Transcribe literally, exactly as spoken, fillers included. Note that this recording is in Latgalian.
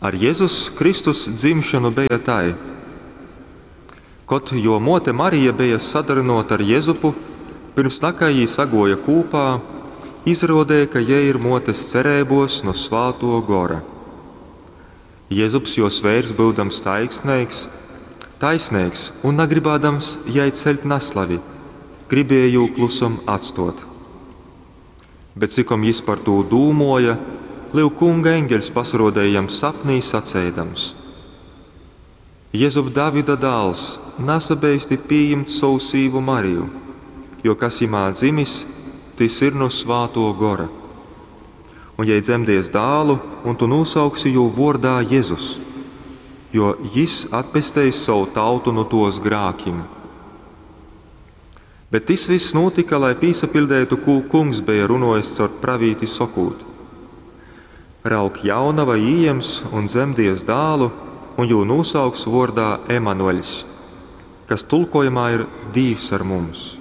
Ar Jezus Kristus dzimšonu beja tai. Kod juo muote Marija beja sadarynōta ar Jezupu, pyrms nakai jī saguoja kūpā, izaruodeja, ka jei ir muotes cereibos nu Svātuo Gora. Jezups, juos veirs, byudams taisneigs, taisneigs un nagrybādams jai ceļt naslavi, gribēja jū klusom atstuot. Bet cikom jis par tū dūmuoja, lyuk, Kunga eņgeļs pasaruodeja jam sapnī saceidams: Jezup, Davida dāls, nasabeisti pījimt sovu sīvu Mariju, jo kas jimā dzimis, tys ir nu Svātuo Gora. Un jei dzemdies dālu, un tu nūsauksi jū vuordā Jezus, jo jis atpesteis sovu tautu nu tuos grākim. Bet tys vyss nūtyka, lai pīsapiļdeitu, kū Kungs beja runuojis caur pravīti sokūt: Raug, jaunava ījems un dzemdies dālu, un jū nūsauks vuordā Emanueļs, kas tulkojumā ir Dīvs ar mums.